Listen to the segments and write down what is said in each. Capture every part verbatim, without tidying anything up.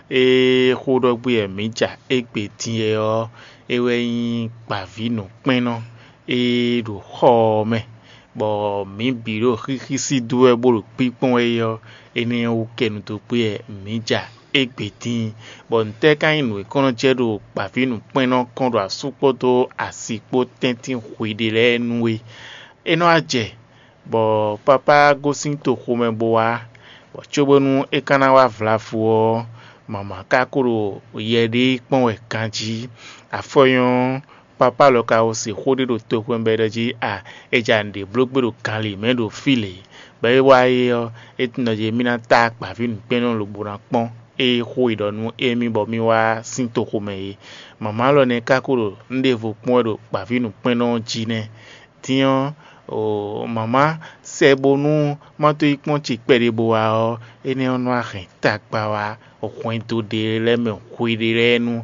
Ée xó ɖɔ gbé wɛ mǐ ja égbé din é ɔ́, é wɛ nyí gbǎvínǔkpɛ́nnɔ e ɖo xɔ ɔ́ mɛ, bɔ mǐ bǐ ɖo xíxí sí dó wɛ bó ɖo kpínkpɔ́n wɛ é ɔ́, énɛ́ ɔ́ wú kɛ nu dó gbé wɛ mǐ ja égbé din. Bɔ nǔtɛ́ ka nyí nǔ e kɔn nɔ jɛ ɖo gbǎvínǔkpɛ́nnɔ kɔn ɖo asú kpódó asi kpó tɛ́ntin hweɖé lɛ́ɛ nu é? É nɔ wá jɛ, bɔ papá gosín toxomɛ bó wá, bɔ cóbónú é ka ná wá vlafu ɔ́, mama ka ko ɖo yɛ ɖé kpɔ́n wɛ ganjí. Afɔ nyɔ́, papá lɔ ka ko se xó ɖé ɖo toxomɛ bɔ é ɖɔ jí a, é ja nǔɖé bló gbé ɖo gan lě mɛ ɖo fí lě. Bɔ é wá é ɔ́, é tunwun ɖɔ jí émí ná tá gbǎví nǔkpɛ́nnɔ lobo ná kpɔ́n é xó e ɖɔ nú émí bɔ mí wá sín toxomɛ é. Mama lɔ nɛ́ ka ko ɖo nǔɖévo kpɔ́n wɛ ɖo gbǎví nǔkpɛ́nnɔ ɔ́ jí nɛ́. Din ɔ́, o mama sɛ bónú má tó yi kpɔ́n ce kpɛɖé bó wá ɔ́, énɛ́ ɔ́ nɔ wá hɛn tagba wá hwɛndo ɖé lɛ́ɛ mɛ hweɖé lɛ́ɛ nu.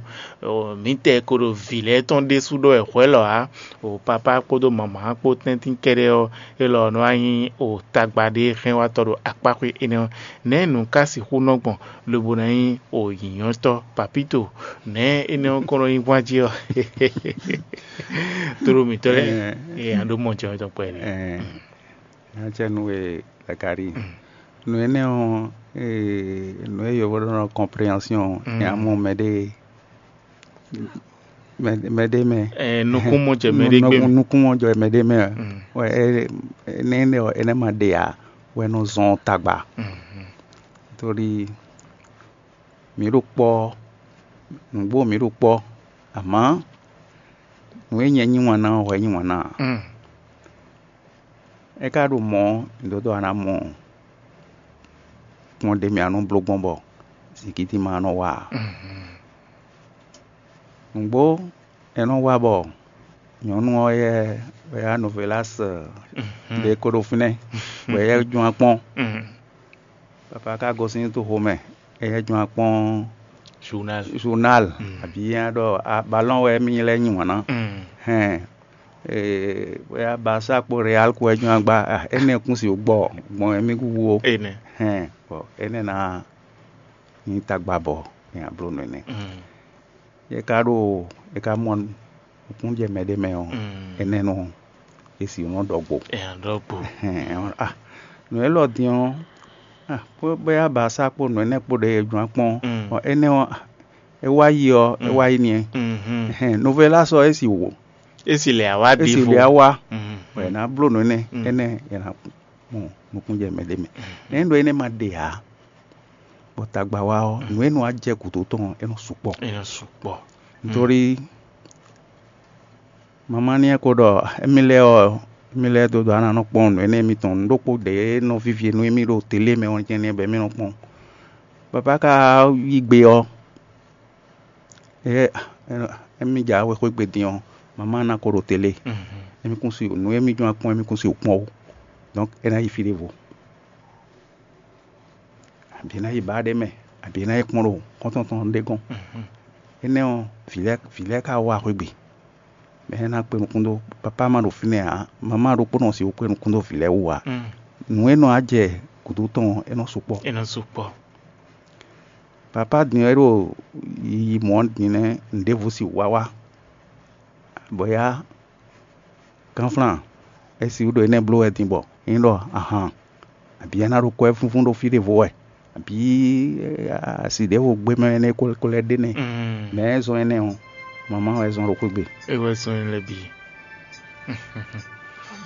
Mǐtɛɛ ko ɖo vǐ lɛ́ɛ tɔn ɖésú ɖɔ wɛ hwɛ̌ lɔ ǎ. O papá kpódó mama kpó tɛ́ntin kɛ́ɖɛ́ ɔ́, élɔ́ ɔ́ nɔ wá nyí o tagba ɖé hɛn wá tɔ ɖo akpá xwé énɛ́ ɔ́. Nɛ̌ nǔ ka sixú nɔ gbɔn lobo ná nyí o nyǐnyɔ́tɔ́? Papíto, nɛ̌ énɛ́ ɔ́ kɔn nɔ nyí gbɔn jí ɔ́? Tlóló mǐtɔn lɛ́ɛ, ee, a ɖó mɔ jɛ tɔn kpɛɖé. Nya cɛ nú we Zakari. Nǔ énɛ́ ɔ́, ee, nǔ e yǒvó ɖɔ nɔ kɔnpréhensiɔn, nya mɔ mɛɖé mɛɖé mɛ. Nukúnmɔjɛmɛ ɖé gbé mɛ. Nukúnmɔjɛmɛ ɖé mɛ. Wɛ é nɛ́ nɛ́ ɔ́, é nɛ́ ma ɖe ǎ, wɛ nɔ zɔn tagba. Tóli mǐ ɖo kpɔ́, nǔgbó mǐ ɖo kpɔ́, amǎ nǔ e nyɛ nyi wǎn ná ɔ́, hwɛ nyi wǎn ná ǎ. É ka ɖo mɔ̌, nǔɖoɖo a nǎ mɔ kpɔ́n ɖé mɛ a nɔ bló gbɔn bɔ zǐngídi ma nɔ wá ǎ. Nǔgbó è nɔ wá bɔ nyɔ̌nu ɔ́ yɛ wɛ yá Novelás ɖě ko ɖo fínɛ́, bɔ é yɛ jɔ́n akpɔ́n. Papa ka gosín toxo mɛ, é yɛ jɔ́n akpɔ́n Journal. Journal, abǐ é ɖɔ balɔ́n wɛ émí lɛ́ nyi wǎn ná. Hɛn, bɔ yá Barça kpó Real kpó wɛ jɔ́n agba, énɛ́ kún si gbɔ gbɔn émí kúkú ó. Énɛ́. Hɛn, bɔ énɛ́ ná nyí tagba bɔ é nǎ bló nǔ énɛ́. Yě ka ɖo, è ka mɔ nukúnjɛ mɛ ɖé mɛ ɔ́, énɛ́ nɔ é si nɔ ɖɔ gbo. Ɛ nɔ ɖɔ gbo. Hɛn, ɔ́, ah, nǔ élɔ́ din ɔ́, ah, bó bó yá ba sá kpó nǔ énɛ́ kpó ɖe e jló ná kpɔ́n, ɔ, énɛ́ ɔ́, ah, é wá yi ɔ́, é wá yi n'i. Hɛn, Novelás ɔ́, é si wò. É si lɛ awá É si ɖi lɛ awá, wɛ ná bló nǔ énɛ́, énɛ́ è nǎ mɔ nukúnjɛ mɛ ɖé mɛ. Nɛ̌ ɖɔ énɛ́ ma ɖe ǎ? Bɔ tagba wa ɔ́, nǔ e nɔ wá jɛ gǔdo tɔn ɔ́, é nɔ sukpɔ́. É nɔ sukpɔ́. Nítorí mamá ní ɛ ko ɖɔ émí lɛ́ɛ ɔ́, émí lɛ́ɛ dó dó ana nɔ kpɔ́n nǔ énɛ́ mitɔn, nǔ ɖokpó ɖě e nɔ vívi e nú émí ɖo télé mɛ ɔ́ jɛ́n nɛ́ bɔ émí nɔ kpɔ́n. Babá ka yí gbe ɔ́, é émí ja wexwé gbe din ɔ́, mamá ná ko ɖo télé. Émí kún si nǔ émí jɔ́n kpɔ́n, émí kún si kpɔ́n ó. Donc é ná yi fí ɖěvo. Abǐ é ná yi ba ɖé mɛ, abǐ é ná yi kpɔ́n ɖo xɔ́ntɔn tɔn ɖé gɔ́n. Énɛ́ ɔ́, vǐ lɛ́ɛ vǐ lɛ́ɛ ka wá xwé gbe. Mɛ énɛ́ ná kpé nukún dó, papá ma ɖo fínɛ́ ǎ, mamá ɖokpónɔ sixú kpé nukún dó vǐ lɛ́ɛ wú ǎ. Nǔ e nɔ wá jɛ gǔdo tɔn ɔ́, é nɔ sukpɔ́. É nɔ sukpɔ́. Papá din ɔ́, é ɖo yiyi mɔ̌ din nɛ́, nǔɖévú si wá wá, bɔ yá Gánflán, é si ɖo énɛ́ bló wɛ din bɔ é nyí ɖɔ ahan, abǐ é ná ɖo kwɛ́ fúnfún ɖo fí ɖěvo wɛ, abǐ asi ɖěvo gbé mɛ énɛ́ ko ko lɛ́ ɖe nɛ́. Mɛ e zɔ́n énɛ́ ɔ́, mamá wɛ zɔ́n ɖo xwé gbe. É wɛ zɔ́n énɛ́ lɛ́ɛ bǐ.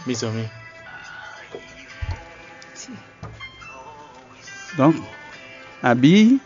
Mí zɔn mì. Donc, abǐ